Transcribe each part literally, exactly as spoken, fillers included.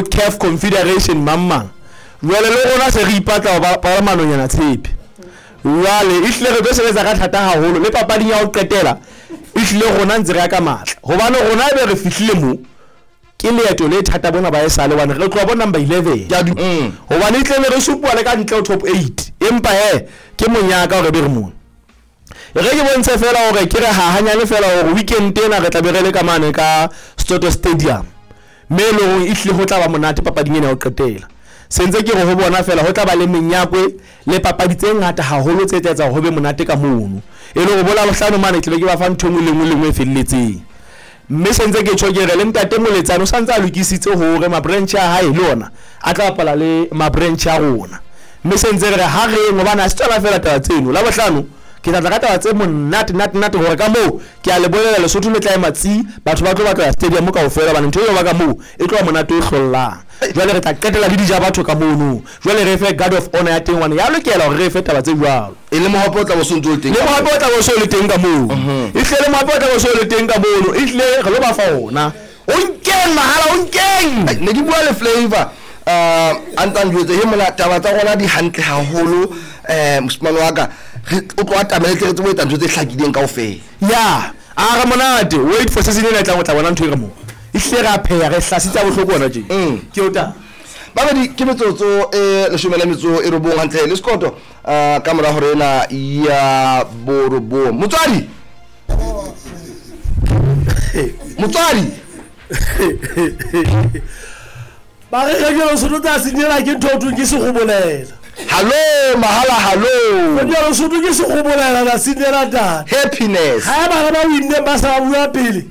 bo C A F Confederation mang mang. Jwale le rona se re ipatla ho ba ba manonyana tshepe. Jwale ehlile re tlo sebetsa ka thata haholo le papading ya ho qetela. Ehlile rona ntse re ya ka matla hobane rona ebe re fihlile mo ke leeto le thata bona ba esale hobane re tloha bo number eleven Ke a du- mm. hobane e tle re supuwa le ka ntle ho top eight, empa he ke monyaka hore be re mona. E re ke bontshe fela hore ke re hahanyane fela hore weekend ena re tla be re le ka mane ka Soto Stadium, mme e leng hore ehlile ho tla ba monate papading ena ya ho qetela. Sentse ke re ho bona fela ho tla ba le menyakwe le papadi tse ngata haholo tse tla etsa hore ho be monate ka mono, e le hore bo Labohlano mane tlabe ke ba fa ntho e nngwe le nngwe le nngwe e felletseng. Mme sentse ke tjho ke re le ntate Moletsane o santse a lokisitse hore ma-branch a hae le ona a tla bapala le ma-branch a rona, mme sentse re re ha reng hobane ha se tsona fela taba tseno. Labohlano ke tla tla ka taba tse monate nate nate hore ka moo ke a le bolela Lesotho le tla ema tsi, batho ba tlo batla ya stadium kaofela hobane ntho eo ba ka moo e tlo ba monate o hlollang. Jwale re tla qetela le dija batho ka mono, jwale re fe guard of honor ya teng hobane ya lokela hore re fe taba tse jwalo. E le mohape o tla bo so ntse o le teng. Le mohape o tla bo so le teng ka moo, ehlile le mohape o tla bo so le teng ka mono, ehlile re lo ba fa ona o nkeng mahala o nkeng. Ne ke bua le Flavor uh a ntse a njwetse he mona taba tsa rona di hantle haholo. um moshimane wa ka re o tlo atamele tle re tsebe ho etsa ntho tse hlakileng kaofela. Ya a re monate, wait for season ena e tlang, o tla bona ntho e re mo ehlile re a pheha re hlasitse bohloko ona tje. Mm. Ke o taba. Babedi ke metsotso e leshome le metso e robong hantle le sekoto uh, ka mora hore ena ya borobong. Motswadi, motswadi. Ba re re ke Lesotho tsa senyela ke ntho o thweng ke segobolela. Hallo mahala, hallo. Radio Lesotho ke segobolela la senyela tata. Happiness. Ha bana ba winneng ba sa bua pele,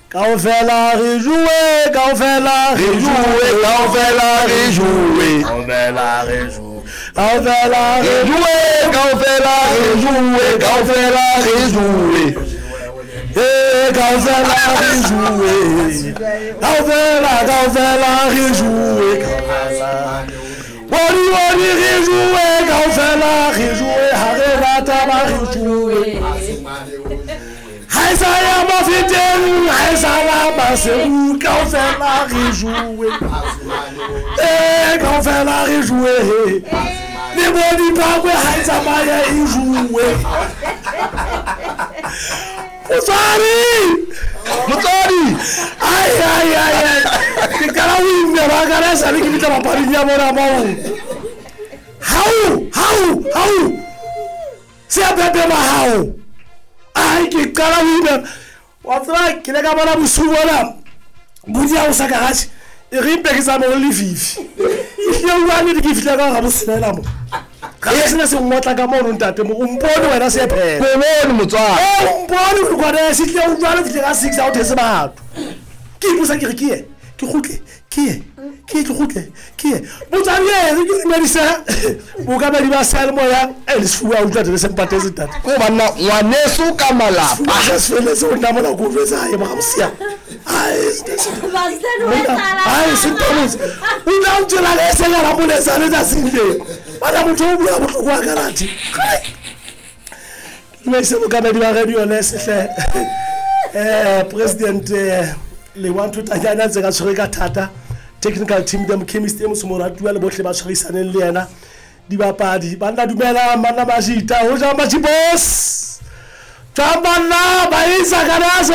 kaofela re jowe, kaofela re jowe, kaofela re jowe. Kaofela re jowe, kaofela re re jowe, kaofela re jowe, kaofela re jowe. Eh, kaofela re jowe, kaofela, kaofela re jowe, kaofela wadi wadi re jowe, kaofela re jowe, ha re rata ba re jowe. Ha e sa ya mafeteng, ha e sa la maseru, kaofela re jowe. Eh, kaofela re jowe le bo dipakwe ha e tsamaya e jowe. Motswadi. Motswadi. Ai ai ai ai, ke qala ho imela ka la sale ke fihla papading ya bona moo. Hao hao hao, se a pepe hao. Ai, ke qala ho imela wa tseba, ke le ka bona bosiu bona bodi ha o sa garage e re mpe ke tsamaye ho lefifi. Ehlile o bua nnete, ke fihla ka hara botshelela mo ga se sena se ngotla ka mono ntate mo o mpone wena se phela. Ko bone motswadi. O mpone o kwana se tle o jwale fihle ka six ha o these batho. Ke iposa ke re ke ye ke kgutle, ke ye ke ye ke kgutle ke ye. Motswadi e re ke dumedise bookamedi ba seyalemoya e le sefuba utlwa tele se mpatetse ntate. Ko banna ngwaneso ka malapa. Se se feletse o nna mona ko jwetsa hae mo ga mosia. Ai, ai, sentamotse o tla o tsela le se la moletsa le tsatsing leo bana motho o bua bohloko wa karate. Dumedise bookamedi ba radio lesehle, eh president eh, Lewa Nthotanyana ntse ka tshwere ka thata, technical team them chemist e moso moratuwa le bohle ba tshwarisaneng le yena, dibapadi banna dumelang banna ba jita ho jang majibos jwang banna ba isa kanaso.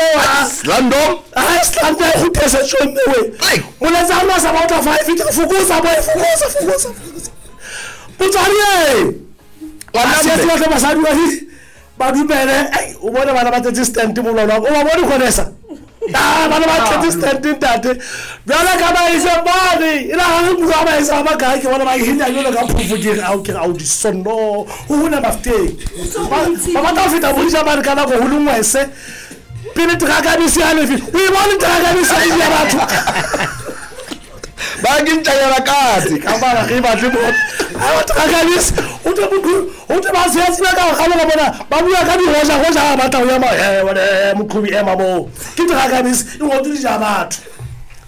Landom. Ai, slando e kguthese tjhomme we. Ai. Moletsa rona sa ba o tla five tla fokotsa boy, fokotsa fokotsa fokotsa motswadi e. Ngwana Se mme. batla basadi ba di ba dumele. Ai, o bone bana ba tletse stand mololo o ba bone khonesa. Ah, bana ba tletse stand ntate jwale ka ba ise bane e la ha re bua ba isa ba kae ke bona ba hinya jwalo ka phofo ke re ao ke re ao di sonno ho hona mafteng ba ba batla ho feta bodisa bane ka nako ho le ngwese pele teraka bese ya lefi o e bone teraka bese ya ya batho. Ba ke ntjanyana katse. Ka bana re batle mo a batho ka kabisa o tle motho o tle ba se tsena ka ga bona bona ba bua ka diroja goja ba batla ho ema eh bona moqhobi ema mo ke dira kabisa e ngotswe dija batho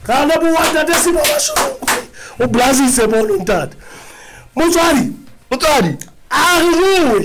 ga le bua ntate se ba basho o blazitse mo ntate motswadi. Motswadi. A re jowe.